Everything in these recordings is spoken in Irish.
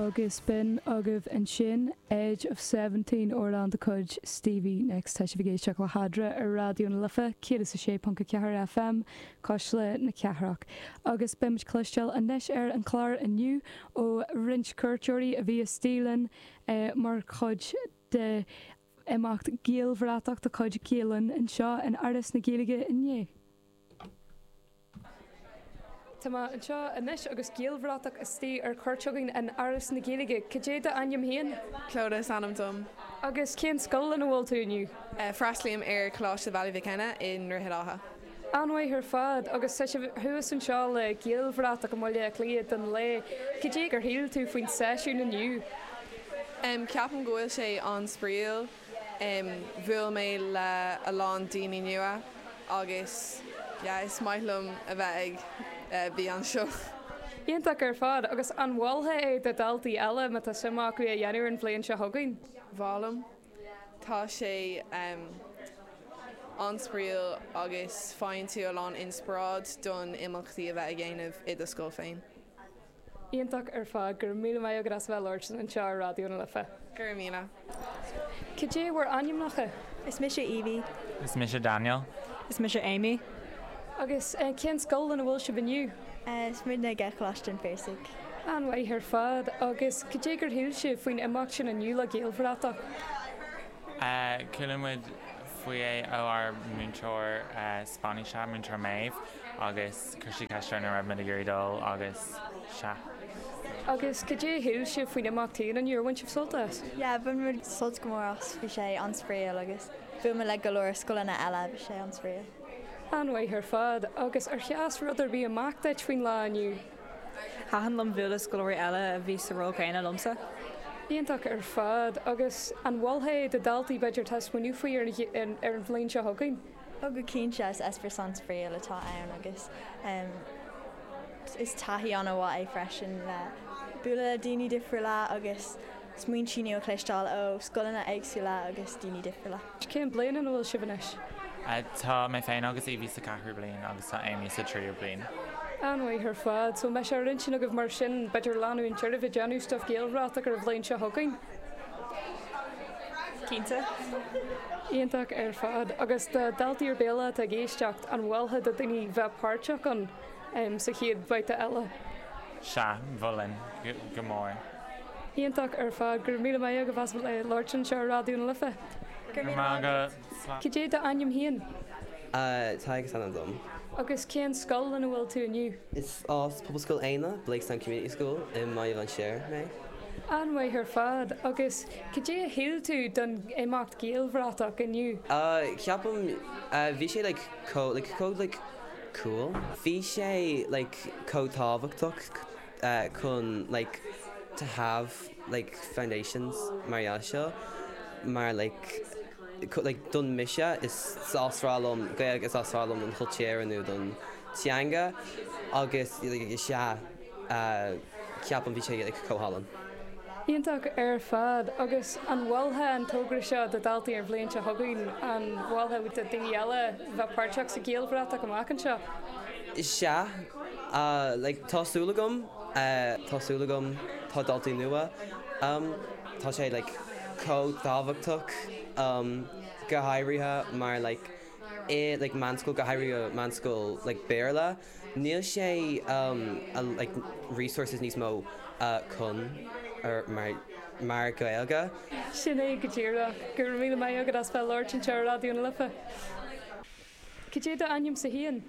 Agus b'in agaibh ansin Edge of 17, amhrán de chuid Stevie Nicks. Tá sibh ag éisteacht le hEadra ar Raidió na Life 106.4 FM, Cuisle na Cathrach. Agus beidh muid cloisteáil anois ar an chlár inniu ó roinnt cuairteoirí a bhí istigh linn mar chuid de imeacht Gaelbhratach de chuid Gael Linn anseo in Áras na Gaeilge inné. Tá mé anseo anois agus Gaelbhratach istigh ar cuairt chugainn in Áras na Gaeilge. Cad é d'ainm féin? Clodagh is ainm dom. Agus cén scoil ina bhfuil tú inniu? Freastlaím ar Choláiste Bhaile Mhic Enna i nDroichead Átha. An-mhaith ar fad. Agus tá sibh thuas anseo le Gaelbhratach i mBaile Átha Cliath don lae. Cad é gur shíl tú faoin seisiún inniu? Ceapaim go bhfuil sé an-spraíúil. Bhuail mé le a lán daoine nua agus yeah is maith liom a bheith ag bí anseo. Iontach ar fad. Agus an mholfá é do dhaltaí eile má tá suim acu é a dhéanamh ar an bhliain seo chugainn? Mholfainn. Tá sé an-spraíúil agus faigheann tú a lán inspioráid don imeachtaí a bheith a dhéanamh i do scoil féin. Iontach ar fad. Go raibh míle maith agat as a bheith ag labhairt linn anseo ar Raidió na Life. Go raibh míle. Cad é bhur ainmneacha? Is mise Evie. Is mise Daniel. Is mise Amy. Agus cén scoil ina bhfuil sibh inniu? Is muidne ag Coláiste an Phiarsaigh. An-mhaith ar fad. Agus cad é gur shíl sibh faoin imeacht sin inniu le Gaelbhratach? Chuala muid faoi é ó ár múinteoir Spáinnise, Múinteoir Maeve, agus chuir sí ceist orainn an raibh muid ag iarraidh dul agus sea. Agus cad é a shíl sibh faoin imeacht féin inniu? Ar bhain sibh sult as? Yeah, bhain muid sult go mór as, bhí sé an-spraíúil agus bhuail muid le go leor scoileanna eile, bhí sé an-spraíúil. An-mhaith ar fad. Agus ar sheas rud ar bith amach duit faoin lá inniu? Thaitin liom bualadh le scoláirí eile a bhí sa ról céanna liomsa. Iontach ar fad. Agus an mholfá é do dhaltaí b'fhéidir atá ag smaoineamh faoi ar an bhliain seo chugainn? Ó go cinnte, is eispéireas an-spraíúil atá ann agus is taithí an-mhaith é freisin le bualadh le daoine difriúla agus smaointí nua a chloisteáil ó scoileanna éagsúla agus daoine difriúla. Cén bliain ina bhfuil sibh anois? Tá mé féin agus Evie sa ceathrú bliain agus tá Amy sa tríú bliain. An-mhaith ar fad. So an mbeidh sé ar intinn agaibh mar sin b'fhéidir leanúint oraibh ag déanamh stuif Gaelbhratach ar an bhliain seo chugainn? Cinnte. Iontach ar fad. Agus do dhaltaí ar bith eile atá ag éisteacht, an mholfá do daoine bheith páirteach ann sa chéad bhabhta eile? Sea, mholfainn, go mór. Iontach ar fad. Go raibh míle maith agaibh as labhairt anseo ar Raidió na Life. Go raibh míle maith agat. Cad é d'ainm féin? Tadhg is ainm dom. Agus cén scoil ina bhfuil tú inniu? Is as Pobalscoil Éanna, Blakestown Community School, i mBaile Bhlainséir mé. An-mhaith ar fad. Agus cad é a shíl tú don imeacht Gaelbhratach inniu? Ceapaim, bhí sé like chomh, like chomh like cool. Bhí sé like chomh tábhachtach chun like to have like foundations mar gheall seo mar like like don mise is is breá liom Gaeilge is breá liom an chultúr nó don teanga agus like sea ceapaim bhí sé like chomh hálainn. Iontach ar fad. Agus an mholfá an togra seo do dhaltaí ar an bhliain seo chugainn? An mholfá do daoine eile bheith páirteach sa Ghaelbhratach amach anseo? Sea, like tá súil agam, tá súil agam, tá daltaí nua, tá sé like chomh tábhachtach go háirithe mar like i like meánscoil, go háirithe meánscoil like Béarla, níl sé like resources níos mó chun ar mar mar Gaeilge. Sin é go díreach. Go raibh míle maith agat as bheith ag labhairt anseo ar Raidió na Life. Cad é d'ainmse féin?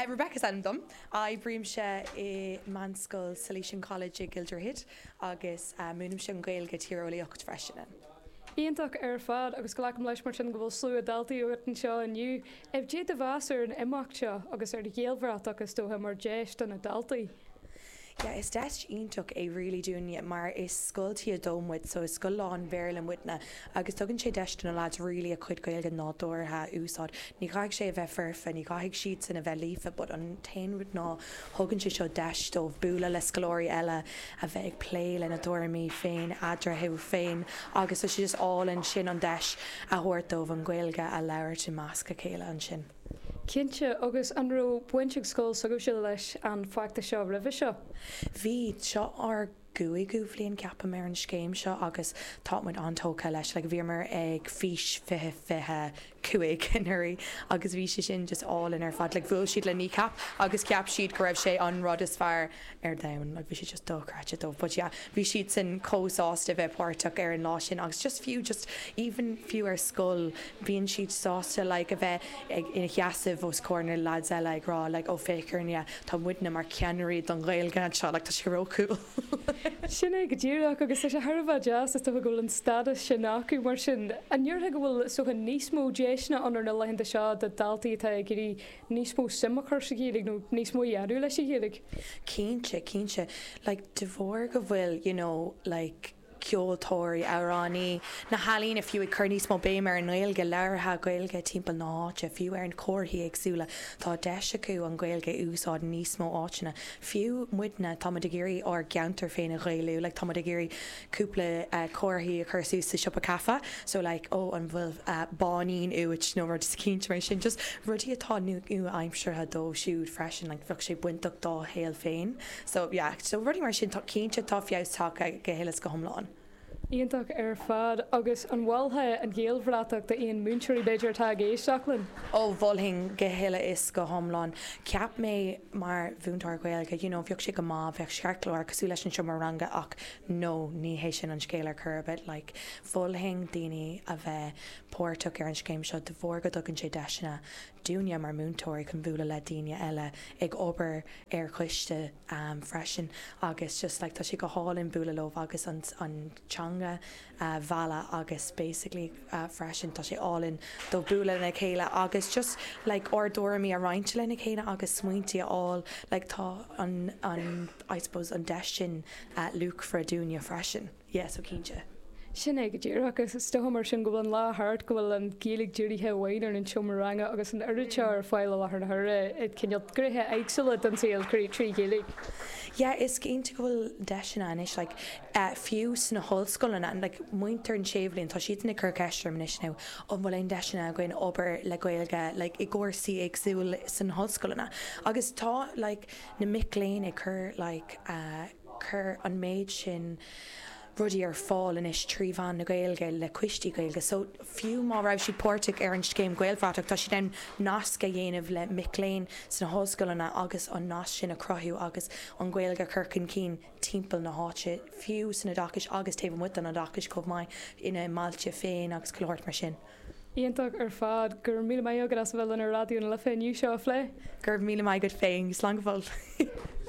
Rebecca is ainm dom. Oibrímse i Meánscoil Salesian College i gCill Droichid agus múinimse an Ghaeilge, Tíreolaíocht freisin ann. Iontach ar fad agus glacaim leis mar sin go bhfuil slua daltaí agat anseo inniu. Cad é do mheas ar an imeacht seo agus ar Ghaelbhratach is dócha mar deis do na daltaí? Yeah, is deis iontach é really dúinne mar is scoil T2 muid so is scoil lán-Bhéarla muidne agus tugann sé deis do na lads really a cuid Gaeilge nádúrtha a úsáid. Ní chaithfidh sé a bheith foirfe, ní chaithfidh siadsan a bheith líofa but an t-aon rud ná thugann sé seo deis dóibh bualadh le scoláirí eile, a bheith ag plé lena dtuairimí féin eadarthu féin agus tá sé just álainn sin an deis a thabhairt dóibh an Ghaeilge a labhairt i measc a chéile ansin. Cinnte, agus an raibh baint ag scoil s'agaibhse leis an bhfeachtas seo roimhe seo? Bhí, seo ár. gcúigiú bhliain ceapaim ar an scéim seo agus tá muid an-tógtha leis. Like bhíomar ag Fís 2025 anuraidh agus bhí sé sin just álainn ar fad. Like bhuail siad le Kneecap agus cheap siad go raibh sé an rud is fearr ar domhan. Like bhí sé just dochreidte dóibh. But yeah bhí siadsan chomh sásta bheith páirteach ar an lá sin agus just fiú just even fiú ar scoil bíonn siad sásta like a bheith ag ina sheasamh os comhair na lads eile ag rá like oh féach orainne tá muidne mar cheannairí don Ghaeilge anseo like tá sé ró-cool. Sin é go díreach agus tá sé thar a bheith deas is dócha go bhfuil an stádas sin acu mar sin. An ndéarfá go bhfuil is dócha níos mó deiseanna ann ar na laethanta seo do dhaltaí atá ag iarraidh níos mó suim a chur sa Ghaeilge nó níos mó a dhéanamh leis an Ghaeilge? Cinnte, cinnte. Like de bharr go bhfuil you know like ceoltóirí, amhránaí, na healaíona fiú ag cur níos mó béim ar an nGaeilge, labhartha Gaeilge timpeall na háite, fiú ar na comharthaí éagsúla, tá deis acu an Ghaeilge a úsáid i níos mó áiteanna. Fiú muidne, tá muid ag iarraidh ár gceantar féin a Ghaelú, like tá muid ag iarraidh cúpla comharthaí a chur suas sa siopa caife, so like oh an bhfuil báinín uait nó rud eicínt mar sin, just rudaí atá nua-aimseartha dóibh siúd freisin, like bheadh sé bainteach dá shaol féin. So yeah, so rudaí mar sin, tá, cinnte tá feabhas tagtha go huile is go hiomlán. Iontach ar fad. Agus an mholfá an Ghaelbhratach d'aon múinteoirí b'fhéidir atá ag éisteacht linn? Ó, mholfainn go huile is go hiomlán. Cheap mé mar mhúinteoir Gaeilge, you know, bheadh sé go maith, bheadh ceartchlár cosúil leis an seomra ranga ach no, ní hé sin an scéal ar chor ar bith. Like, mholfainn daoine a bheith páirteach ar an scéim seo de bharr go dtugann sé deiseanna dúinne mar múinteoirí chun bualadh le daoine eile ag obair ar choiste freisin agus just like tá sé go hálainn bualadh leo agus an an teanga a mhealladh agus basically freisin tá sé álainn dóibh bualadh lena chéile agus just like ár dtuairimí a roinnt lena chéile agus smaointí a fháil like tá an an I suppose an deis sin luachmhar dúinne freisin. Yeah, so cinnte. Sin é go díreach, agus is dócha mar sin go bhfuil an lá thart, go bhfuil an Ghaeilge dírithe amháin ar an seomra ranga agus an oiread seo ar fáil i láthair na huaire i cineál gnéithe éagsúla den saol trí Ghaeilge. Yeah, is cinnte go bhfuil deiseanna anois, like, fiú sna hollscoileanna, like, muintir an séú bhliain, tá siadsan ag cur ceist orm anois now, an bhfuil aon deiseanna againn obair le Gaeilge, like, i gcúrsaí éagsúil sna hollscoileanna. Agus tá, like, na mic léinn ag cur, like, cur an méid sin rudaí ar fáil anois trí mheán na Gaeilge le coistí Gaeilge so fiú má raibh siad páirteach ar an scéim Gaelbhratach tá siad in ann nasc a dhéanamh le mic léinn sna hollscoileanna agus an nasc sin a chruthú agus an Ghaeilge a chur chun cinn timpeall na háite fiú san oideachais agus taobh amuigh den oideachais chomh maith ina mbailte féin agus chuile shórt mar sin. Iontach ar fad. Go raibh míle maith agat as a bheith linn ar Raidió na Life inniu seo a phlé. Go raibh míle maith agat féin. Slán go fóill.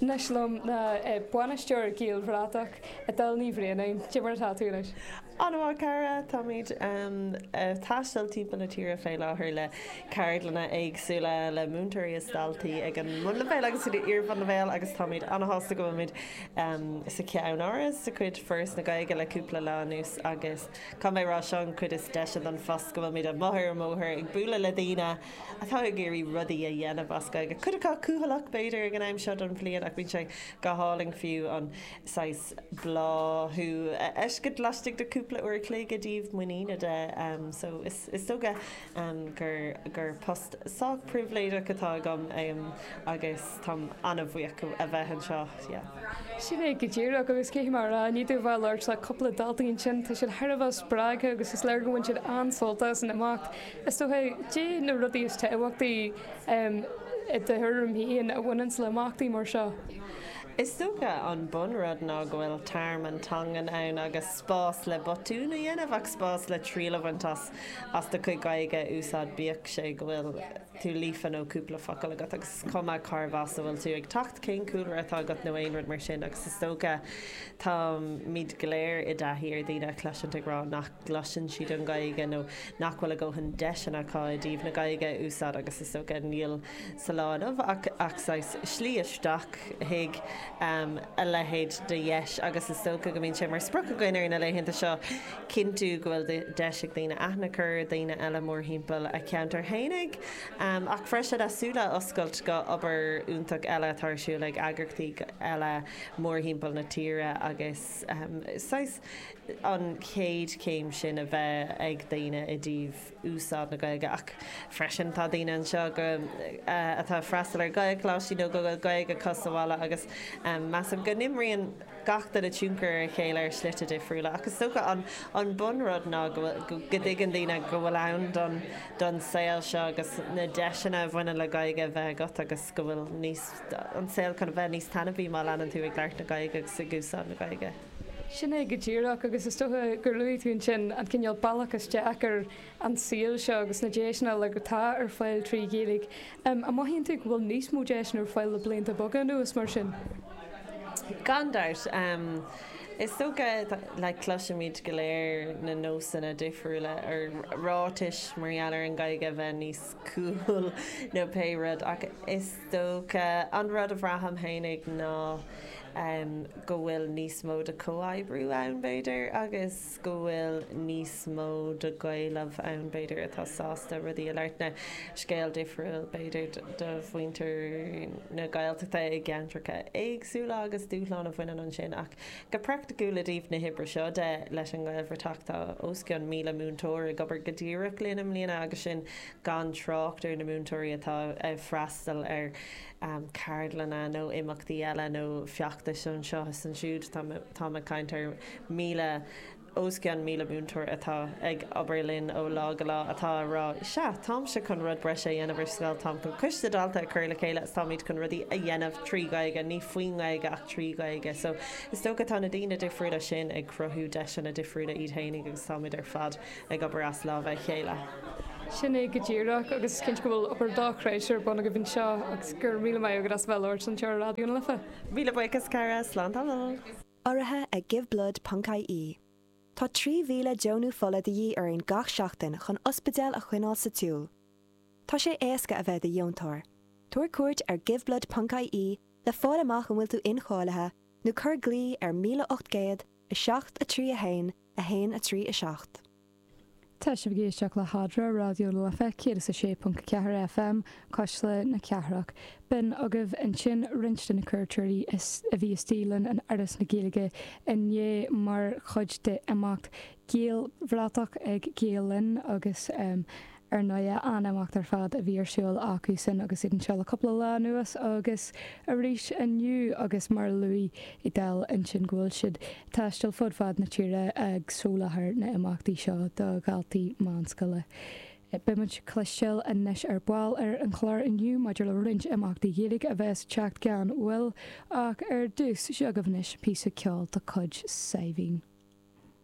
Anois liom ná Bainisteoir Gaelbhratach, Edel Ní Bhraonáin. Cé mar atá tú anois? An-mhaith, cara. Táimid ag taisteal timpeall na tíre fé láthair le ceardlanna éagsúla le múinteoirí is daltaí ag an mbunleibhéal agus san iar-bhunleibhéal agus táimid an-shásta go bhfuilimid sa Cheann-Áras de chuid Foras na Gaeilge le cúpla lá anuas agus Caithfidh mé a rá, seo an chuid is deise den phost, go bhfuilimid amuigh ar an mbóthar ag bualadh le daoine atá ag iarraidh rudaí a dhéanamh as Gaeilge. Cuid acu cúthaileach, b'fhéidir, ag an am seo den bhliain ach bíonn sé go hálainn fiú an saghas bláthú a fheiscint laistigh de cúpla uair a chloig i dtaobh muiníne de. So is dócha gur gur post sách pribhléideach atá agam agus táim an-bhuíoch a bheith anseo. Yeah. Sin é go díreach, agus caithfidh mé a rá, i ndiaidh domh a bheith ag labhairt le cúpla daltaí ansin, tá siad thar a bheith spreagtha agus is léir go bhain siad an-sult as an imeacht. Is dócha, cé na rudaí is tábhachtaí i do thuairim féin a bhaineanns le imeachtaí mar seo? Is dócha an bunrud ná go bhfuil tearmann teangan ann agus spás le botún a dhéanamh ach spás le triail a bhaint as as do chuid Gaeilge a úsáid bíodh sé go bhfuil tú líofa nó cúpla focal agat agus is cuma cárbh as a bhfuil tú ag teacht, cén cúlra atá agat nó aon rud mar sin agus is dócha táimid go léir i dtaithí ar dhaoine a chloisint ag rá nach gcloiseann siad an Ghaeilge nó nach bhfuil a dhóthain deiseanna acu i dtaobh na Gaeilge a úsáid agus is dócha níl sa lá inniu ach ach saghas slí isteach chuig a leithéid de dheis agus is dócha go mbíonn sé mar sprioc againn ar na laethanta seo cinntiú go bhfuil deis ag daoine aithne a chur ar dhaoine eile mórthimpeall a cheantar fhéinig ach freisin a súile a oscailt go obair iontach eile atá ar siúl ag eagraíochtaí eile mórthimpeall na tíre agus saghas an chéad chéim sin a bheith ag daoine i dtaobh úsáid na Gaeilge ach freisin tá daoine anseo go atá ag freastal ar Ghaelcholáistí nó go bhfuil Gaeilge acu sa bhaile agus measaim go n-imríonn. gach duine tionchar ar a chéile ar shlite difriúla ach is dócha an an bunrud ná go bhfuil go dtuigeann daoine go bhfuil ann don don saol seo agus na deiseanna a bhaineann le Gaeilge a bheith agat agus go bhfuil níos an saol chun a bheith níos taitneamhaí má leanann tú ag labhairt na Gaeilge agus ag úsáid na Gaeilge. Sin é go díreach agus is dócha gur luaigh tú ansin an cineál bealach isteach ar an saol seo agus na deiseanna uilig atá ar fáil trí Ghaeilge. An mothaíonn tú go bhfuil níos mó deiseanna ar fáil le blianta beaga anuas mar sin? Gan dabht. Is dócha, like, cloisimid go léir na nósanna difriúla ar ráitis mar gheall ar an Ghaeilge a bheith níos cool nó pé rud ach is dócha an rud a bhraithim fhéinig ná go bhfuil níos mó de chomhoibriú ann b'fhéidir agus go bhfuil níos mó de Ghaelaibh ann b'fhéidir atá sásta rudaí a labhairt. Now, scéal difriúil b'fhéidir do mhuintir na Gaeltachta i gceantracha éagsúla agus dúshláin a bhaineann ansin ach go praiticiúil i dtaobh na hoibre seo de leis an nGaelbhratach tá os cionn 1,000 múinteoir ag obair go díreach linn i mbliana agus sin gan trácht ar na múinteoirí atá ag freastal ar ceardlanna nó imeachtaí eile nó feachtais anseo is ansiúd. Táim ag caint ar 1,000, os cionn 1,000 múinteoir atá ag obair linn ó lá go lá atá ag rá, sea, táimse chun rud breise a dhéanamh ar scoil, táim chun coiste dalta a chur le chéile is táimid chun rudaí a dhéanamh trí Ghaeilge, ní faoin nGaeilge ach trí Ghaeilge. So, is dócha tá na daoine difriúla sin ag cruthú deiseanna difriúla iad fhéinig agus táimid ar fad ag obair as lámha a chéile. Sin é go díreach agus is cinnte go bhfuil obair dochreidte ar bun agaibh anseo agus go raibh míle maith agat as a bheith ag labhairt anseo ar Raidió na Life. Míle buíochas, cara. Slán tamall. Urraithe ag Giveblood ponc ie. Tá 3,000 deonú fola de dhíth orainn gach seachtain chun ospidéil a choinneáil sa tsiúl. Tá sé éasca a bheith i do dheontóir. Tabhair cuairt ar Giveblood ponc ie le fáil amach an bhfuil tú incháilithe nó cuir glao ar 1800 7 3 1 1 3 7. Tá sibh ag éisteacht le hEadra, Raidió na Life 106.4 FM, Cuisle na Cathrach. B'in agaibh ansin roinnt de na cuairteoirí a bhí istigh linn in Áras na Gaeilge inné mar chuid d'imeacht Gaelbhratach ag Gael Linn agus Ar ndóigh, an-imeacht ar fad a bhí ar siúl acu sin agus iad anseo le cúpla lá anuas agus arís inniu agus mar a luaigh Edel ansin go bhfuil siad ag taisteal fud fad na tíre ag soláthar na n-imeachtaí seo do dhaltaí meánscoile. Beidh muid ag cloisteáil anois ar ball ar an chlár inniu maidir le roinnt imeachtaí Gaeilge a bheas ag teacht gan mhoill ach ar dtús, seo agaibh anois píosa ceoil de chuid Saidhbhín.